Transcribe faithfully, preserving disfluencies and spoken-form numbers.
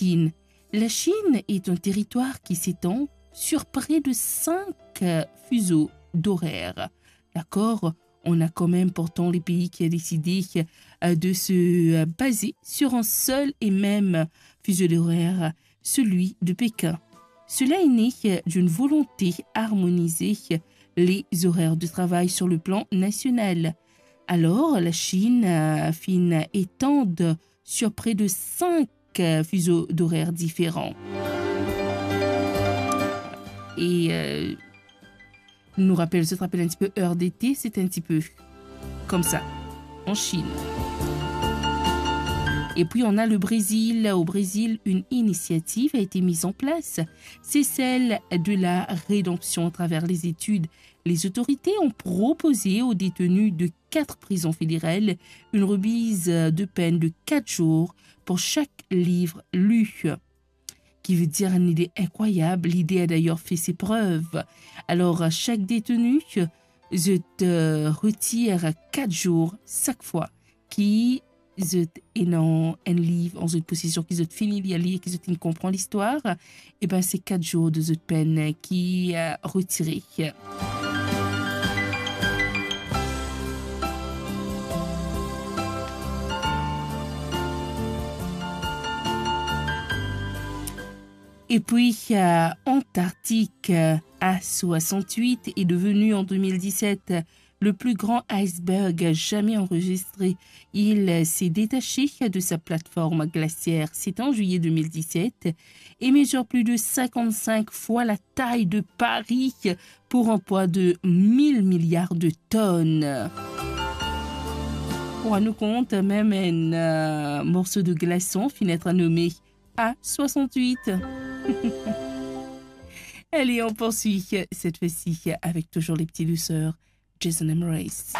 Chine. La Chine est un territoire qui s'étend sur près de cinq, euh, fuseaux d'horaire. D'accord ? On a quand même pourtant les pays qui a décidé, euh, de se, euh, baser sur un seul et même fuseau d'horaire, celui de Pékin. Cela est né, euh, d'une volonté d'harmoniser, euh, les horaires de travail sur le plan national. Alors, la Chine, euh, fin étendre sur près de cinq, euh, fuseaux d'horaire différents. Et, euh, nou rapel, zot rapel un petit peu heure d'été, c'est un petit peu comme ça, en Chine. Et puis, on a le Brésil. Au Brésil, une initiative a été mise en place. C'est celle de la rédemption à travers les études. Les autorités ont proposé aux détenus de quatre prisons fédérales une remise de peine de quatre jours pour chaque livre lu. Qui veut dire une idée incroyable. L'idée a d'ailleurs fait ses preuves. Alors, à chaque détenu, zot, euh, retir quatre jours chaque fois ki zot ena enn liv an zot posesion, ki zot fini lir li, ki zot finn konpran listwar, e ben, se kat zour de zot penn ki, euh, retire. Et puis, euh, Antarctique, euh, A soixante-huit est devenu en deux mille dix-sept le plus grand iceberg jamais enregistré. Il s'est détaché de sa plateforme glaciaire. C'est en juillet deux mille dix-sept et mesure plus de cinquante-cinq fois la taille de Paris pour un poids de mille milliards de tonnes. Pou rann nou kont, mem enn, euh, morso de glason finn et nome A soixante-huit. Allez, on poursuit cette fois-ci avec toujours les petits douceurs, Jason Mraz.